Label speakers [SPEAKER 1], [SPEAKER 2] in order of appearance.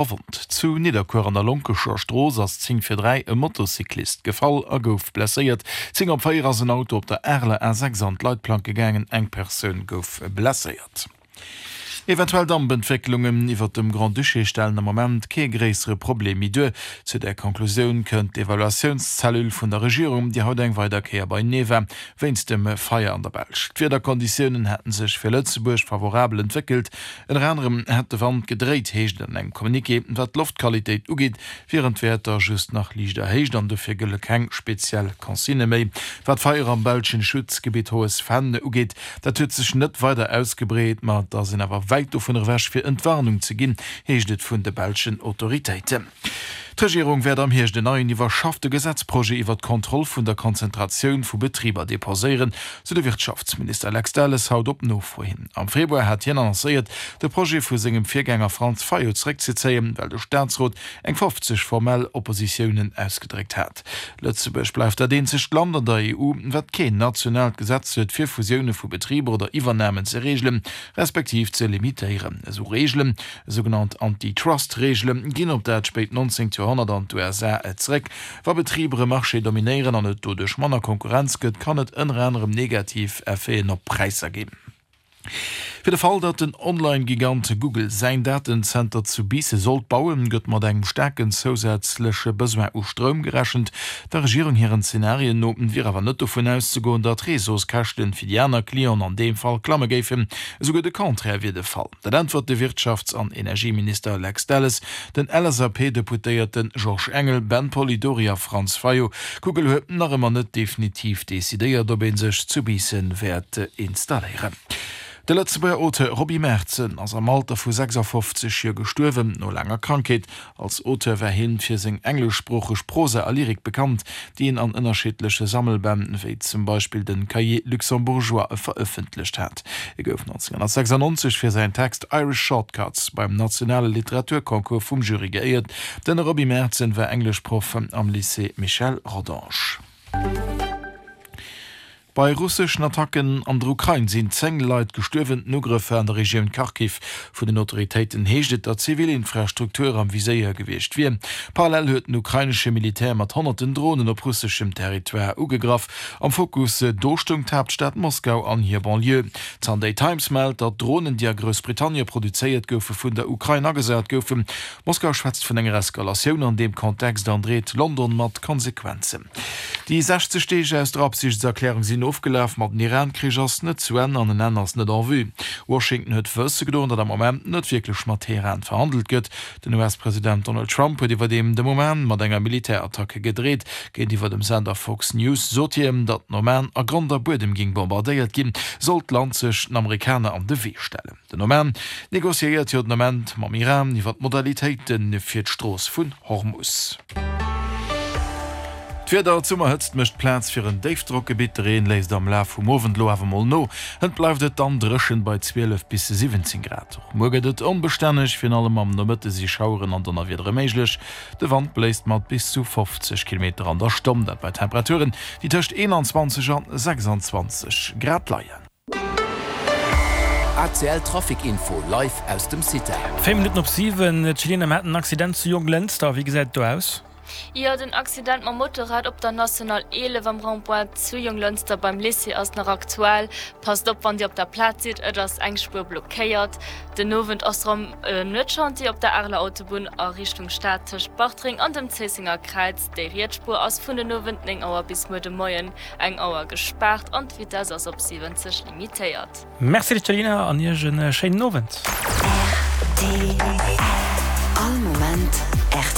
[SPEAKER 1] Verwonnt. Zu Nidderkuer an der Lonkescher Strooss ass 10 vir 3 e Motocyclist gefall a gouf blesséiert. 10 op 4 ass en Auto op der Areler A6 an d'Leitplanke gaangen, eng Persoun gouf blesséiert. Eventuell Dampentwécklungen iwwert dem Grand-Duché stellen am Moment kee gréissere Problem méi duer. Zu där Konklusioun kënnt d'Evaluatiounszellule vun der Regierung, déi haut eng weider Kéier beienee war wéinst dem Feier an der Belsch. D'Wiederkonditiounen hätte sech fir Lëtzebuerg favorabel entwéckelt. Ënner anerem hätt de Wand gedréit, heescht et an engem Communiqué. Wat d'Loftqualitéit ugeet, wieren d'Wäerter just nach liicht erhéicht an dofir gëlle keng speziell Consignë méi. Wat d'Feier am belschen Schutzgebitt Hohes Venn ugeet, dat huet sech net weider ausgebreet, ma et ass een awer wäit dovun ewech fir Entwarnung ze ginn, heescht et vun de belschen Autoritéiten. D'Regierung wäert am Hierscht en neien iwwerschaffte Gesetzprojet iwwer d'Kontroll vun der Konzentratioun vu Betriber deposéieren, sou de Wirtschaftsminister Lex Delles haut op Nofro hin. Am Februar hat hien annoncéiert, de Projet vu sengem Virgänger Franz Fayot zeréckzezéien, well de Staatsrot eng 50 formell Oppositiounen ausgedréckt hat. Lëtzebuerg bleift dat eenzegt Land an der EU, wat keen nationaalt Gesetz huet, fir Fusioune vu Betriber oder Iwwernamen ze reegelen, respektiv ze limitéieren. Esou Reegelen Sougenannt Antitrust-Reegele ginn op dat spéit 19. Joerhonnert an d'USA zeréck. Wa Betriber e Marché dominéieren an et doduerch manner Konkurrenz gëtt, kann et ënner anerem negativ Effeten op d'Präisser ginn. Fir de Fall, datt den Online-Gigant Google säin Datenzenter zu Biissen sollt bauen, gëtt mat engem staarken zousätzleche Besoin u Stroum gerechent. Der Regierung hiren Zenarien no wier awer net dovun auszegoen, datt d'Réseauskäschten fir déi aner Clienten an deem Fall klamme géifen. Esouguer de Contraire wier de Fall. Dat äntwert de Wirtschafts an Energieminister Lex Delles den LSAP-Deputéierte Georges Engel, Ben Polidori a Franz Fayot. Google huet nach ëmmer net definitiv decidéiert, ob ee sech zu Biissen wäert installéieren. De Lëtzebuerger Auteur Roby Merzen ass am Alter vu 56 Joer gestuerwen, no laanger Krankheet. Als Auteur war hien fir seng engleschsproocheg Prosa a Lyrik bekannt, déi en an ënnerschiddleche Sammelbänn, wéi zum Beispill den Cahiers luxembourgeois, verëffentlecht hat. E gouf 1996 fir säin Text Irish Shortcuts beim nationale Literaturconcours vum Jury geéiert. Den Roby Merzen war Engleschproff am Lycée Michel Rodange. Bei russeschen Attacken an der Ukrain sinn 10 Leit gestuerwen. Den Ugrëff war an der Regioun Kharkiv. Vun den Autoritéiten heescht et, datt zivil Infrastruktur am Viséier gewiescht wier. Parallel huet den ukrainesche Militär mat honnerten Dronen op russeschem Territoire ugegraff. Am Fokus do stoung d'Haaptstad Moskau an hir Banlieue. D'Sunday Times mellt, datt Dronen, déi a Groussbritannie produzéiert goufe, vun der Ukrain agesat goufen. Moskau schwätzt vun enger Eskalatioun an deem Kontext an dreet London mat Konsequenzen. Déi 60 Deeg aus der Absichtserklärung sinn ofgelaf, ma den Iran-Krich ass net zu Enn an en Enn ass net en vue. Washington huet wësse gedoen, datt am Moment net wierklech mat Teheran verhandelt gëtt. Den US-President Donald Trump huet iwwerdeem dem Oman mat enger Militärattacke gedreet. Géintiwwer dem Sender Fox News sot hien, datt den Oman a Grond a Buedem géing bombardéiert ginn, sollt d'Land sech den Amerikaner an de Wee stellen. Den Oman negociéiert jo den Ament mam Iran iwwer d'Modalitéite fir d'Strooss vun Hormus. D'Wieder, D'Summerhëtzt mécht Plaz fir en Déifdrockgebitt. De Reen léisst am Laf vum Owend elo awer mol no. Hënt bleift et dann dréchen bei 12 bis 17 Grad. Och muer gëtt et onbestänneg, virun allem am Nomëtte si Schaueren an Donnerwiedere méiglech. De Wand bléist mat bis zu 50 Kilometer an der Stonn, dat bei Temperaturen, déi tëscht 21 an 26 Grad leien.
[SPEAKER 2] ACL Trafic Info live aus dem CITEL.
[SPEAKER 3] 4 Minutten op 7, D'Chelina, mir haten en Accident zu Jonglënster. Wéi gesäit et do aus?
[SPEAKER 4] Jo, den Accident mam Motorrad op der National 11 am Rond-point zu Jonglënster beim Lycée ass nach aktuell. Passt op wann Dir op der Plaz sidd, et ass eng Spuer blockéiert. Den Owend ass rëm e Nuetschantier op der Areler Autobunn a Richtung Stad tëscht Bartreng an dem Zéissenger Kräiz. Déi riets Spuer ass vun den Owend 9 Auer bis muer de Moien Eng Auer gespaart an d'Vitess ass op 70 limitéiert.
[SPEAKER 3] Merci Céline an Iech en schéinen Owend.
[SPEAKER 5] Rtl, All Moment.